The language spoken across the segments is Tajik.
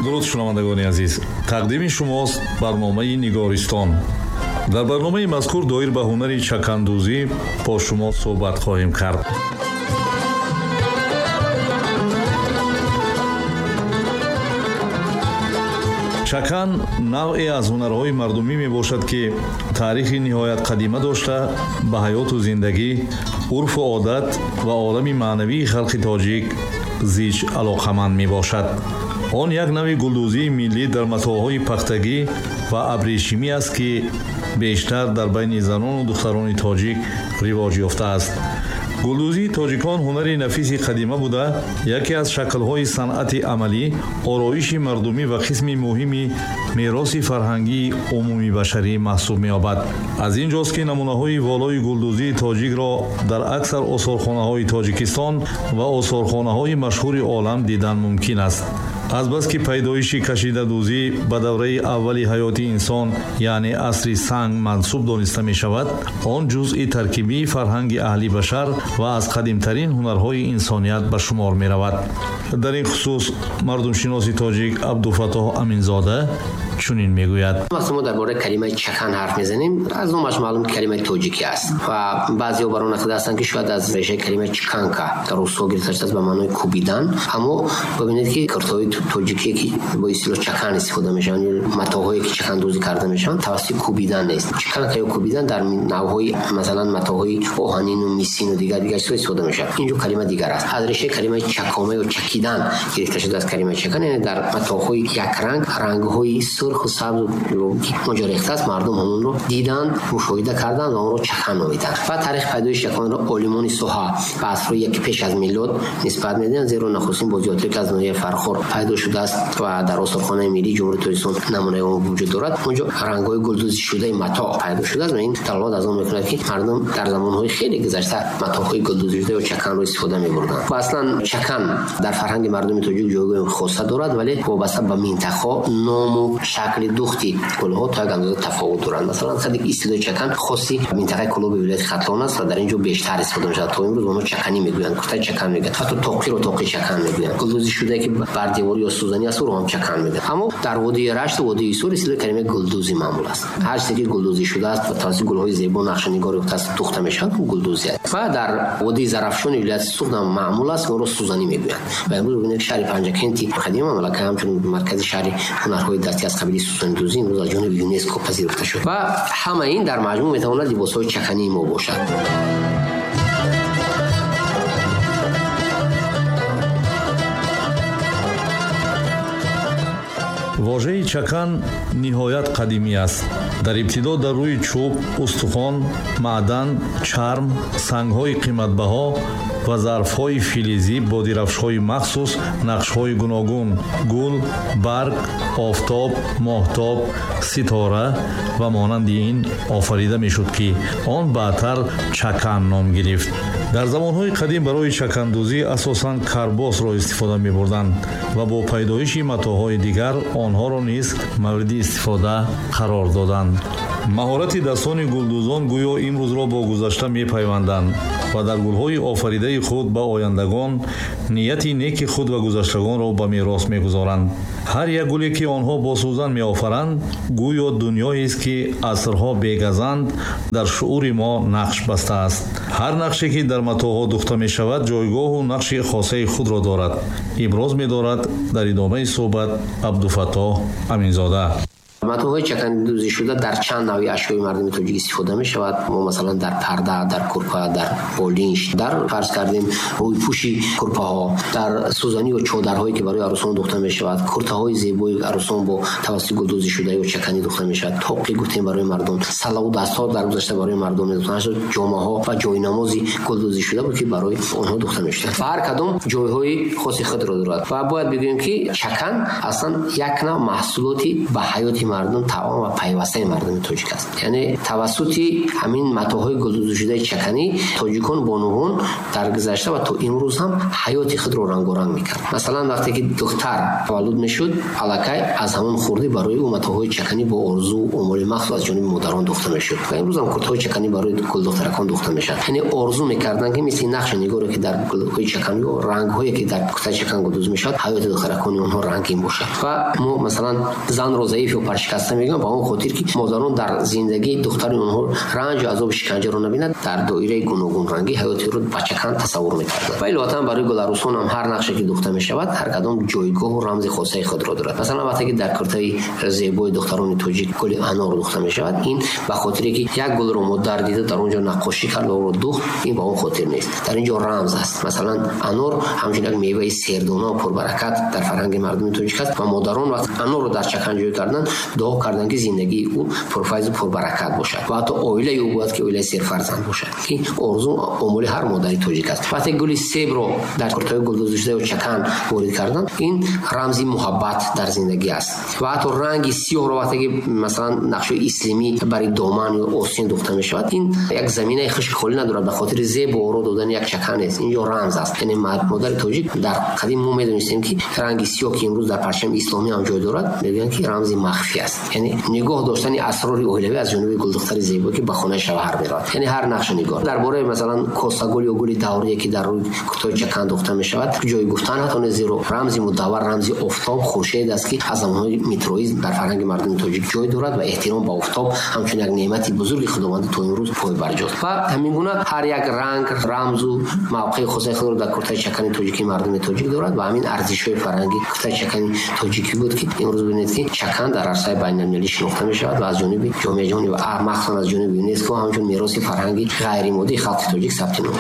Дуруд шунавандагони азиз, тақдими шумост барномаи Нигористон. Дар барномаи мазкур доир ба ҳунари чакандӯзӣ бо шумо суҳбат хоҳем кард. Чакан навъе аз ҳунарҳои мардумӣ мебошад, ки таърихи ниҳоят қадима дошта, ба ҳаёту зиндагӣ, урфу одат ва олами маънавии халқи тоҷик зич алоқаманд мебошад. Он як навъи гулдӯзии миллӣ дар матоъҳои пахтагӣ ва абрешимӣ аст, ки бештар дар байни занону духтарони тоҷик ривоҷ ёфтааст. Гулдӯзии тоҷикон ҳунари нафиси қадима буда, яке аз шаклҳои санъати амалӣ, ороиши мардумӣ ва қисми муҳими мероси фарҳангии умумибашарӣ маҳсуб меёбад. Аз ин ҷост, ки намунаҳои волои гулдӯзии тоҷикро дар аксар осорхонаҳои Тоҷикистон ва осорхонаҳои машҳури олам дидан мумкин аст. Азбаски пайдоиши кашидадӯзӣ ба давраи аввали ҳаёти инсон, яъне асри санг мансуб дониста мешавад, он ҷузъи таркибии фарҳанги аҳли башар ва аз қадимтарин ҳунарҳои инсоният ба шумор меравад. Дар ин хусус мардумшиноси тоҷик Абдуфаттоҳ Аминзода чунин мегӯяд. Вақте мо дар бораи калимаи чакан ҳарф мезанем, аз номаш маълум, ки калимаи тоҷикӣ аст ва баъзеҳо бар он ақида ҳастанд, ки шояд аз решаи калимаи чканка дар русҳо гирифта шудааст ба маънои кӯбидан. Аммо бибинед, ки куртаҳои тоҷикие, ки бо истилоҳ чакан истифода мешаванд, ё матоъҳое, ки чакандӯзӣ карда мешаванд, тавассути кӯбидан нест. Чканка ё кӯбидан дар навъҳои, масалан, матоъҳои оҳанину мисину дигар дигар чизҳо истифода мешавад. Инҷо калима дигар аст. Аз решаи калимаи чакома ё чакидан гирифта шудааст калимаи чакан, яъне дар матоъҳои якранг рангҳои сурху сабзу ки онҷо рехтааст, мардум ҳамонро диданд, мушоҳида карданд ва онро чакан номиданд. Ва таърихи пайдоиши чаканро олимони соҳа ба асрҳои яки пеш аз милод нисбат медиҳанд, зеро нахустин бозиётҳое, ки аз ноҳияи Фархор пайдо шудааст ва дар осорхонаи миллии Ҷумҳурии Тоҷикистон намунаи он вуҷуд дорад, онҷо рангҳои гулдӯзишудаи матоъ пайдо шудааст ва ин далолат аз он мекунад, ки мардум дар замонҳои хеле гузашта матоъҳои гулдӯзишуда ё чаканро истифода мебурданд. Ва аслан чакан дар фарҳанги мардуми тоҷик ҷойгоҳи хоса дорад, вале вобаста ба минтақаҳо ному шакли духти гулҳо то як андоза тафовут доранд. Масалан, қаде ки истилоҳи чакан хоси минтақаи Кӯлоби вилояти Хатлон аст ва дар ин ҷо бештар истифода мешавад. То имрӯз онҳо чаканӣ мегӯянд, куртаи чакан мегӯянд, ҳатто тоқиро тоқи чакан мегӯянд. Гулдӯзӣ шудае, ки бар девор ё сӯзанӣ аст, ӯро ҳам чакан мегӯянд. Аммо дар водии Рашт ва водии Ҳисор истилоҳи калимаи гулдӯзӣ маъмул аст. Ҳар чизе ки гулдӯзӣ шудааст ва тавассути гулҳои зебо нақшанигор ёфтааст, духта мешавад, гулдӯзӣ аст. Ва дар водии Зарафшони вилояти Суғд ҳам маъмул аст, онро сӯзанӣ мегӯянд. Ва имрӯз бибинед, шаҳри Панҷакенти қадима мамлака ҳамчун маркази шаҳри ҳунарҳои дастӣ аз қабили сӯзанидӯзӣ имрӯз аз ҷониби ЮНЕСКО пазируфта шуд. Ва ҳама ин дар маҷмӯъ метавонад либосҳои чакании мо бошад. Вожаи чакан ниҳоят қадимӣ аст. Дар ибтидо дар рӯи чӯб, устухон, маъдан, чарм, сангҳои қиматбаҳо ва зарфҳои филизӣ бо дирафшҳои махсус нақшҳои гуногун гул, барг, офтоб, моҳтоб, ситора ва монанди ин офарида мешуд, ки он баъдтар чакан ном гирифт. Дар замонҳои қадим барои чакандӯзӣ асосан карбосро истифода мебурданд ва бо пайдоиши матоъҳои дигар онҳоро низ мавриди истифода қарор доданд. Маҳорати дастони гулдӯзон гӯё имрӯзро бо гузашта мепайванданд ва дар гулҳои офаридаи худ ба ояндагон нияти неки худ ва гузаштагонро ба мерос мегузоранд. Ҳар як гуле, ки онҳо бо сӯзан меофаранд, гӯё дунёест, ки асрҳо бегазанд дар шуури мо нақш бастааст. Ҳар нақше, ки дар матоъҳо духта мешавад, ҷойгоҳу нақши хосаи худро дорад, иброз медорад дар идомаи суҳбат Абдуфаттоҳ Аминзода. Матоъҳои чакандӯзӣ шуда дар чанд навъи ашёи мардуми тоҷик истифода мешавад. Мо масалан дар парда, дар курпа, дар болинш, дар фарз кардем рӯйпӯши курпаҳо, дар сӯзанӣ ё чодарҳое, ки барои арӯсон духта мешавад, куртаҳои зебои арӯсон бо тавассути гулдӯзӣ шуда ё чаканӣ духта мешавад, тоқи гуфтем барои мардум, салаву дастҳо дар гузашта барои мардум медухтанд, ҷомаҳо ва ҷойнамози гулдӯзӣ шуда буд, ки барои онҳо духта мешуд. Ва ҳар кадом ҷойҳои хоси худро дорад. Ва бояд бигӯем, ки чакан аслан як навъ маҳсулоти ба ҳаёти мардум таом ва пайвастаи мардуми тоҷик аст. Яъне тавассути ҳамин матоъҳои гулдӯзишудаи чаканӣ тоҷикон бонувон дар гузашта ва то имрӯз ҳам ҳаёти худро рангоранг мекард. Масалан, вақте ки духтар таваллуд мешуд, аллакай аз ҳамон хурдӣ барои ӯ матоъҳои чаканӣ бо орзу омоли махсус аз ҷониби модарон духта мешуд. Ва имрӯз ҳам куртаҳои чаканӣ барои гулдухтаракон духта мешавад. Яъне орзу мекарданд, ки мисли нақши нигоре, ки дар гулҳои чаканӣ ё рангҳое, ки дар куртаи чакан гулдӯз мешавад, ҳаёти духтаракони онҳо рангин бошад. Ва мо масалан занро заиф ё паршикаста мегӯем ба он хотир, ки модарон дар зиндагии духтари онҳо ранҷу азобу шиканҷаро набинад, дар доираи гуногунрангӣ ҳаёти ӯро ба чакан тасаввур мекарданд. Ва иловатан барои гуларӯсон ҳам ҳар нақше, ки духта мешавад, ҳар кадом ҷойгоҳу рамзи хосаи худро дорад. Масалан, вақте ки дар куртаи зебои духтарони тоҷик гули анор духта мешавад, ин ба хотире, ки як гулро модар дида, дар он ҷо наққошӣ кард ва ӯро духт, ин ба он хотир нест. Дар ин ҷо рамз аст. Масалан, анор ҳамчун як меваи сердона ва пурбаракат дар фарҳанги мардуми тоҷик аст ва модарон вақт анорро дар чакан ҷой карданд, дуо карданд, ки зиндагии ӯ пурфайзу пурбаракат бошад ва ҳатто оилаи ӯ бояд ки оилаи серфарзанд бошад, ки орзу омоли ҳар модари тоҷик аст. Вақте гули себро дар куртаҳои гулдӯзишуда ё чакан ворид карданд, ин рамзи муҳаббат дар зиндагӣ аст. Ва ҳатто ранги сиёҳро вақте ки масалан нақшҳои ислимӣ барои доман ё остин духта мешавад, ин як заминаи хушки холӣ надорад, ба хотири зебу оро додани як чакан нест, инҷо рамз аст. Яъне модари тоҷик дар қадим мо медонистем, ки ранги сиёҳ, ки имрӯз дар парчами исломӣ ҳам ҷой дорад, мегӯянд, ки рамзи махфӣ аст, яъне нигоҳ доштани асрори оилавӣ аз ҷониби гулдухтари зебо, ки ба хонаи шавҳар меравад. Яъне ҳар нақшу нигор дар бораи масалан косагул ё гули даврие, ки дар рӯи куртаи чакан духта мешавад, ҷои гуфтан ҳатто нест, зеро рамзи мудаввар, рамзи офтоб, хуршед аст, ки аз замонҳои митроизм дар фарҳанги мардуми тоҷик ҷой дорад ва эҳтиром ба офтоб ҳамчун як неъмати бузурги худовандӣ то имрӯз пойбарҷост. Ва ҳамин гуна ҳар як ранг рамзу мавқеи хосаи худро дар куртаи чакани тоҷикии мардуми тоҷик дорад ва ҳамин арзишҳои фарҳанги куртаи чакани тоҷикӣ буд, ки имрӯз бибинед, ки чакан дар арсаи байналмилалӣ шинохта мешавад ва аз ҷониби ҷомеаи ҷаҳонӣ ва махсусан аз ҷониби ЮНЕСКО ҳамчун мероси фарҳанги ғайримоддии халқи тоҷик сабти ном.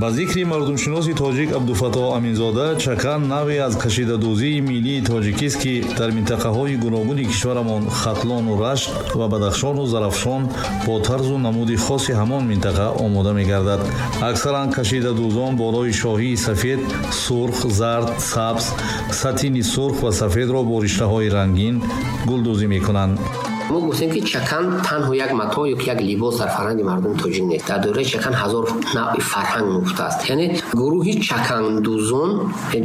Ба зикри мардумшиноси тоҷик Абдуфаттоҳ Аминзода, чакан навъе аз кашидадӯзии миллии тоҷикист, ки дар минтақаҳои гуногуни кишварамон Хатлону Рашт ва Бадахшону Зарафшон бо тарзу намуди хоси ҳамон минтақа омода мегардад. Аксаран кашидадӯзон болои шоҳии сафед, сурх, зард, сабз, сатини сурх ва сафедро бо риштаҳои рангин гулдӯзӣ мекунанд. Мо гуфтем, ки чакан танҳо як матоъ ё як либос дар фарҳанги мардуми тоҷик нест. Дар доираи чакан ҳазор навъи фарҳанг нуфта аст. Яъне гурӯҳи чакандӯзон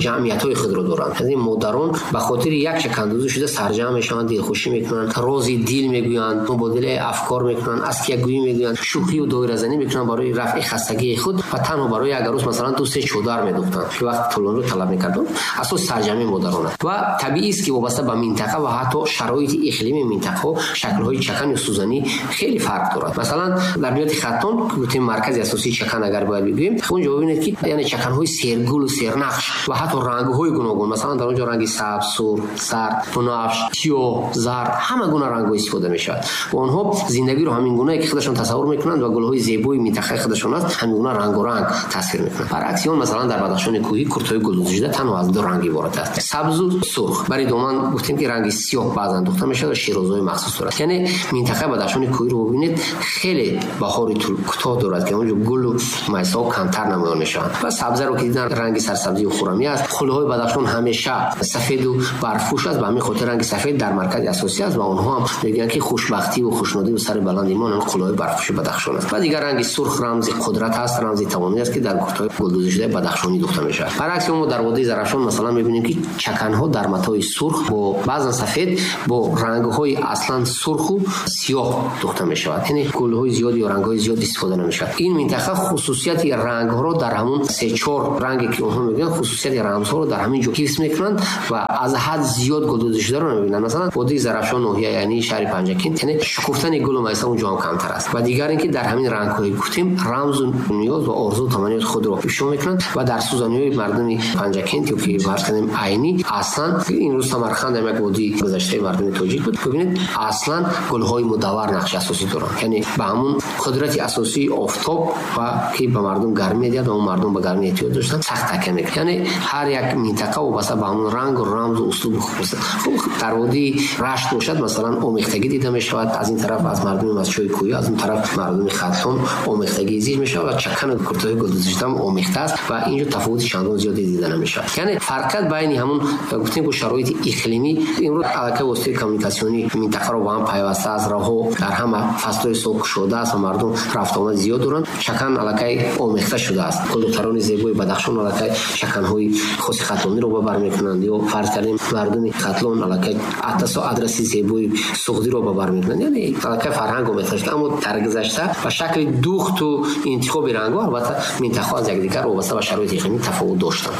ҷамъиятҳои худро доранд. Яъне модарон ба хотири як чакандӯзӣ шуда сарҷамъ мешаванд, дилхушӣ мекунанд, рози дил мегӯянд, мубодилаи афкор мекунанд, аскиягӯӣ мегӯянд, шӯхию доиразанӣ мекунанд барои рафъи хастагии худ ва танҳо барои як арӯс масалан 2-3 чодар медухтанд, ки вақти тӯлониро талаб мекарданд. Асос сарҷамъи модарон аст ва табиист, ки вобаста ба минтақа ва ҳатто шароити иқлими минтақаҳо шаклҳои чакан ё сӯзанӣ хеле фарқ дорад. Масалан, дар вилояти Хатлон, гуфтем маркази асосии чакан агар бояд бигӯем, онҷо бибинед, ки яъне чаканҳои сергулу сернақш ва ҳатто рангҳои гуногун, масалан дар онҷо ранги сабз, сурх, зард, бунафш, сиёҳ, зард, ҳама гуна рангҳо истифода мешавад ва онҳо зиндагиро ҳамин гунае, ки худашон тасаввур мекунанд ва гулҳои зебои минтақаи худашон аст, ҳамин гуна рангоранг тасвир мекунанд. Баръакси он, масалан дар Бадахшони кӯҳӣ куртаҳои гулдӯзишуда танҳо аз ду ранг иборат аст: сабзу сурх. Барои доман гуфтем, ки ранги сиёҳ баъзан духта мешавад ва широзҳои махсус дорад. Яъне минтақаи Бадахшони кӯҳиро бибинед, хеле баҳори кӯтоҳ дорад, ки онҷо гулу майсаҳо камтар намоён мешаванд ва сабзаро ки дидан, ранги сарсабзию хуррамӣ аст. Хулаҳои Бадахшон ҳамеша сафеду барфпӯш аст, ба ҳамин хотир ранги сафед дар маркази асосӣ аст ва онҳо ҳам мегӯянд, ки хушбахтиву хушнудиву сари баланди мо ҳамин қуллаҳои барфпӯши Бадахшон аст. Ва дигар ранги сурх рамзи қудрат аст, рамзи тавоноӣ аст, ки дар куртаҳои гулдӯзишудаи бадахшонӣ духта мешавад. Баръакси мо дар водии Зарафшон масалан мебинем, ки чаканҳо дар матои сурх бо баъзан сафед бо рангҳои аслан сурху сиёҳ духта мешавад, яъне гулҳои зиёд ё рангҳои зиёд истифода намешавад. Ин минтақа хусусияти рангҳоро дар ҳамон се-чор ранге, ки онҳо мегӯянд, хусусияти рамзҳоро дар ҳамин ҷо ҳифз мекунанд ва аз ҳад зиёд гулдӯзишударо намебинанд. Масалан, водии Зарафшон, ноҳия яъне шаҳри Панҷакент, яъне шукуфтани гулу майса он ҷо ҳам камтар аст. Ва дигар ин ки дар ҳамин рангҳое гуфтем рамзу ниёз ва орзу таманниёти худро ифшо мекунанд ва дар сӯзаниҳои мардуми Панҷакент ё ки фарз кунем Айнӣ, аслан имрӯз Самарқанд ҳам як водии гузаштаи мардуми тоҷик буд, бибинед, аслан Аслан гулҳои мудаввар нақши асосӣ доранд, яъне ба ҳамун қудрати асосии офтоб ва ки ба мардум гармӣ медиҳад ва он мардум ба гармӣ эҳтиёҷ доштанд, сахт такя мекунад. Яъне ҳар як минтақа вобаста ба ҳамун рангу рамзу услуби худ. Хуб, дар водии Рашт бошад, масалан, омехтагӣ дида мешавад. Аз ин тараф аз мардуми мастчои кӯҳӣ, аз он тараф мардуми Хатлон омехтагӣ зид мешавад ва чакану куртаҳои гулдӯзишуда ҳам омехта аст ва инҷо тафовути чандон зиёде дида намешавад. Яъне фарқият байни ҳамун гуфтем ки шароити иқлимӣ имрӯз аллакай воситаи коммуникатсионӣ минтақаро ба ҳам пайваста аст, роҳҳо дар ҳама фаслҳои сол кушода аст ва мардум рафтуомад зиёд доранд. Чакан аллакай омехта шудааст. Гулдухтарони зебои Бадахшон аллакай чаканҳои хоси хатлониро ба бар мекунанд, ё фарз кардем мардуми Хатлон аллакай атласу адраси зебои суғдиро ба бар мекунанд. Яъне аллакай фарҳанг омехта шуда, аммо дар гузашта ба шакли духту интихоби рангҳо албатта минтақаҳо аз якдигар вобаста ба шароити иқлимӣ тафовут доштанд.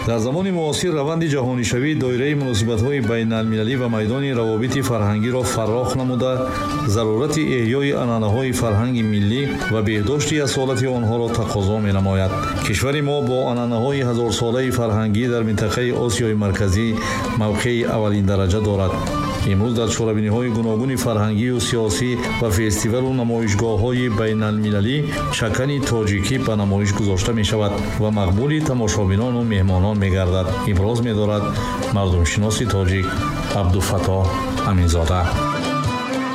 Дар замони муосир раванди ҷаҳонишавӣ доираи муносибатҳои байналмилалӣ ва майдони равобити фарҳангиро фарох намуда, зарурати эҳёи анъанаҳои фарҳанги миллӣ ва беҳдошти асолати онҳоро тақозо менамояд. Кишвари мо бо анъанаҳои ҳазорсолаи фарҳангӣ дар минтақаи Осиёи Марказӣ мавқеи аввалиндараҷа дорад. Имрӯз дар чорабиниҳои гуногуни фарҳангию сиёсӣ ва фестивалу намоишгоҳҳои байналмилалӣ чакани тоҷикӣ ба намоиш гузошта мешавад ва мақбули тамошобинону меҳмонон мегардад. Иброз медорад мардумшиноси тоҷик Абдуфаттоҳ Аминзода.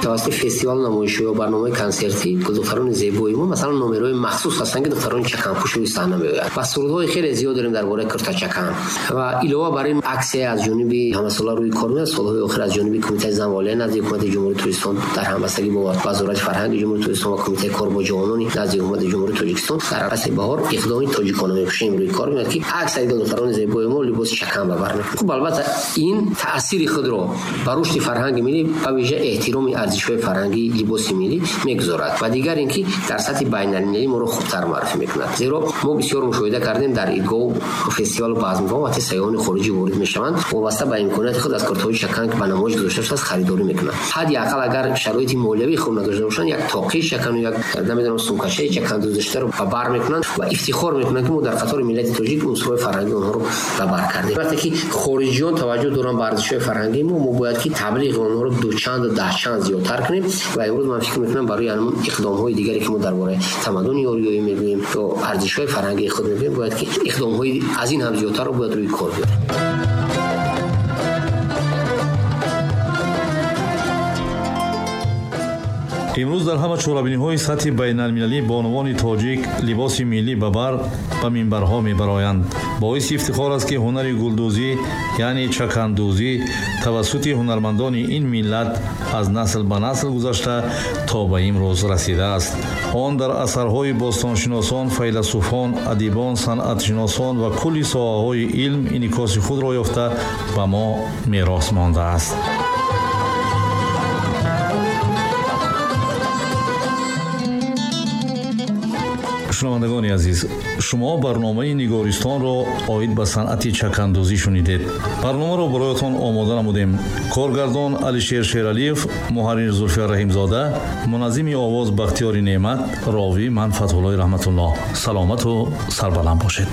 Тавассути фестивал намоишӣ ё барномаи консертӣ духтарони зебои мо, масалан, номерҳои махсус ҳастанд, ки духтарони чаканпӯш рӯи саҳна меоянд ва сурудҳои хеле зиёд дорем дар бораи куртачакан. Ва илова бар ин аксия аз ҷониби ҳамасола рӯи кор меояд. Солҳои охир аз ҷониби Кумитаи зан ва оила назди Ҳукумати Ҷумҳурии Тоҷикистон дар ҳамбастагӣ бо Вазорати фарҳанги Ҷумҳурии Тоҷикистон ва Кумитаи кор бо ҷавонони назди Ҳукумати Ҷумҳурии Тоҷикистон дар фасли баҳор иқдоми тоҷикона мепӯшем рӯи кор меояд, ки аксари духтарони зебои мо либоси чакан ба бар мекунанд. Хуб, албатта ин таъсири худро ба рушди фарҳанги миллӣ, ба вижа эҳтироми арзишҳои фарҳангии либоси миллӣ мегузорад ва дигар ин ки дар сатҳи байналмилалӣ моро хубтар муаррифӣ мекунад. Зеро мо бисёр мушоҳида кардем дар идгоҳу фестивалу базмгоҳ вақте сайёҳони хориҷӣ ворид мешаванд, вобаста ба имконияти худ аз куртаҳои чакан, ки ба намоиш гузошта шудааст, харидорӣ мекунанд. Ҳадди ақал агар шароити молиявии хуб надошта бошанд, як тоқии чакану як намедонам сумкачаи чакан дӯзиштаро ба бар мекунанд ва ифтихор мекунанд, ки мо дар қатори миллати тоҷик унсурҳои фарҳангии онҳоро ба бар кардем. Вақте ки хориҷиён таваҷҷӯҳ доранд ба арзишҳои фарҳангии мо, мо бояд ки таблиғи онҳоро дучанду даҳчанд зиёдтар кунем ва имрӯз ман фикр мекунам барои ҳамон иқдомҳои дигаре, ки мо дар бораи тамаддуни ориёӣ мегӯем ё арзишҳои фарҳангии худ мегӯем, бояд ки иқдомҳои аз ин ҳам зиёдтарро бояд рӯи кор биёрем. Имрӯз дар ҳама чорабиниҳои сатҳи байналмилалӣ бонувони тоҷик либоси миллӣ ба бар ба минбарҳо мебароянд. Боиси ифтихор аст, ки ҳунари гулдӯзӣ, яъне чакандӯзӣ, тавассути ҳунармандони ин миллат аз насл ба насл гузашта то ба имрӯз расидааст. Он дар асарҳои бостоншиносон, файласуфон, адибон, санъатшиносон ва кулли соҳаҳои илм инъикоси худро ёфта ба мо мерос мондааст. Шунавандагони азиз, шумо барномаи Нигористонро оид ба санъати чакандӯзӣ шунидед. Барномаро бароятон омода намудем. Коргардон Алишер Шералиев, муҳаррир Зулфия Раҳимзода, муназзими овоз Бахтиёри Неъмат, ровӣ ман Фатҳуллои Раҳматуллоҳ. Саломату сарбаланд бошед.